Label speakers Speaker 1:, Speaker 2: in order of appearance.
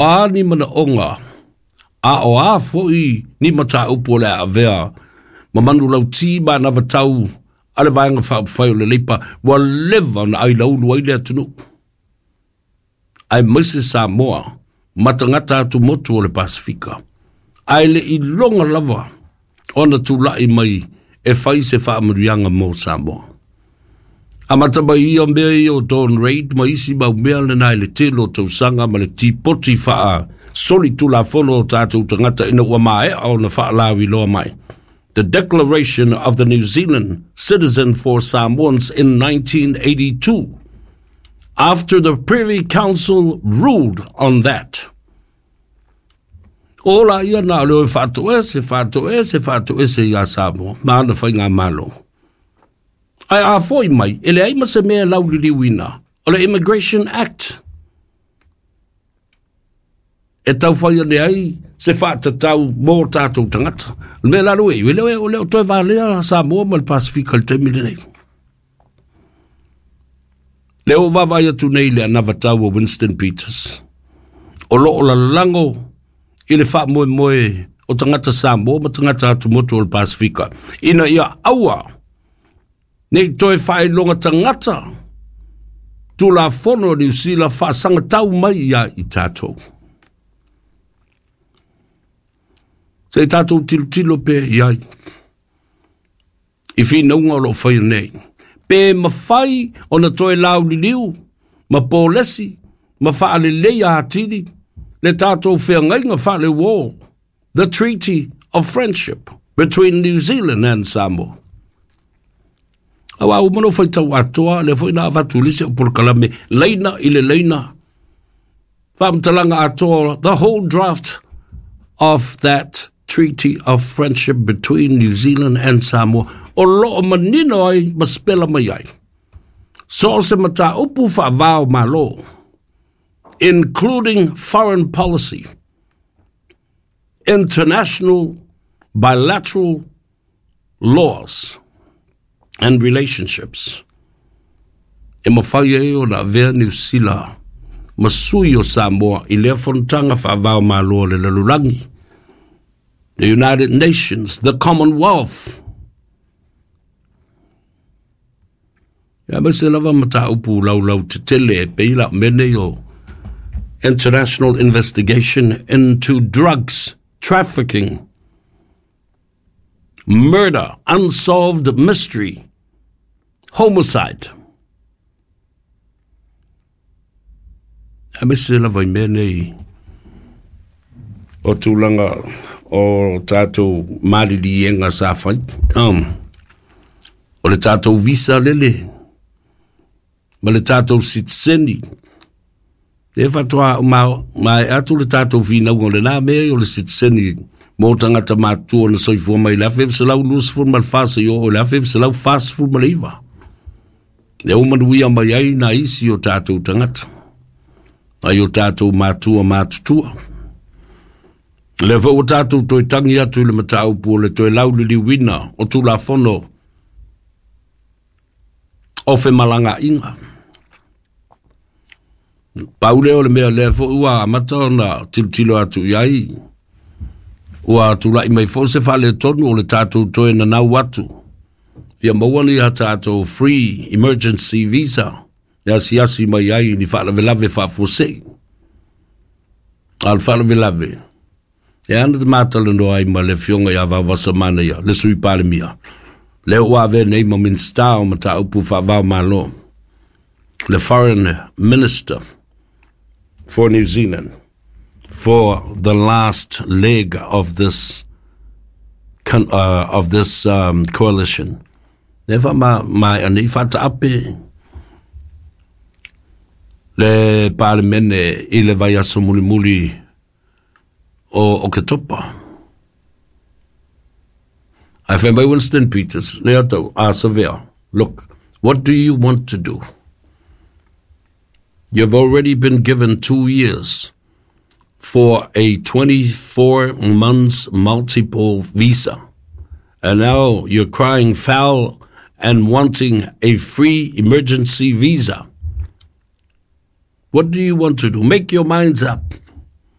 Speaker 1: a ni manaoga, a o a foi ni mataupu o le a avea ma manulauti ma anavatau a le Vaega Faaupufai o le Leipa ua leva ona ailaulu ai le atunuu, aemaise Samoa ma tagata atumotu o le Pasefika, ae le i iloga lava ona tulai mai e fai se faamanuiaga mo Samoa. Amata mai ia mea ia o Dawn Raid ma isi mau mea lena i le tele o tausaga ma le tipoti faa soli tulafono o tatou tagata ina ua maea ona faalauiloa mai. The Declaration of the New Zealand Citizen for Samoans in 1982, after the Privy Council ruled on that. O la ia na o le oe faatoese, faatoese, faatoese iā Samoa, ma ana faigamalo. Ae a foi mai, e leai ma se mea e lauliliuina, o le Immigration Act. E taufai ane ai se faatatau mo tatou tagata. O le mea la lea ua i ai, e le o toe valea Samoa ma le Pasefika i le taimi lenei. Lea ua vaavaai atu nei i le anavatau a Winston Peters, o lo o lalago i le faamoemoe o tagata Samoa ma tagata atumotu o le Pasefika, ina ia aua ne i toe faailoga tagata Tulafono o Niu Sila faasagatau mai ia i tatou. Se i tatou tilotilo pea i ai i finauga o lo o faia nei. Pe mafai ona toe lauliliu ma polesi ma faaleleia atili le tatou feagaiga faaleuo, the Treaty of Friendship between New Zealand and Samoa. Aua ua uma ona ou faitau atoa, lea foi na avatu i le isi au polokalame, laina i le laina, faamatalaga atoa, the whole draft of that Treaty of Friendship between New Zealand and Samoa, o lo o manino ai ma sepela mai ai. So o se mataupu faava o Malo, including foreign policy, international bilateral laws and relationships. E mafai ai ona avea Niu Sila ma sui o Samoa i lea fonotaga faava o Malo o le lalolagi, the United Nations, the Commonwealth. Aemaise lava mataupu laulau tetele e pei la o mea nei o international investigation into drugs trafficking, murder, unsolved mystery, homicide. Aemaise lava i mea nei o tulaga o tatou maliliega sa fai. O le tatou visa lele ma le tatou sitiseni. E faatoa maea atu le tatou finauga o lena mea o le sitiseni mo tagata matutua na soifua mai le 1924 seia oo i le 1949. Lea ua manuia mai ai nai isi o tatou tagata, nai o tatou matua matutua. Lea foi ua tatou toe tagi atu i le mataupu o le toe lauliliuina o Tulafono o femalagaaiga. Pau lea o le mea lea foi ua amata ona tilotilo atu i ai, ua tulai mai foi se faaletonu o le tatou toe nanau atu fia maua ni a tatou free emergency visa e asiasi mai ai ni faalavelave faafuasei. A o le faalavelave, e ana te matalanoa ai ma le afioga ia Vaovasa Manaia, le Sui Palemia, lea ua avea nei ma Minisita o Mataupu Faava o Malo, the Foreign Minister for New Zealand for the last leg of this of this coalition. Lea faamaea nei faataape le Palemene i le vaiaso mulimuli o Oketopa. Ae fai mai Winston Peters, lea tau, a Savea, look, what do you want to do? You've already been given 2 years for a 24 months multiple visa. And now you're crying foul and wanting a free emergency visa. What do you want to do? Make your minds up.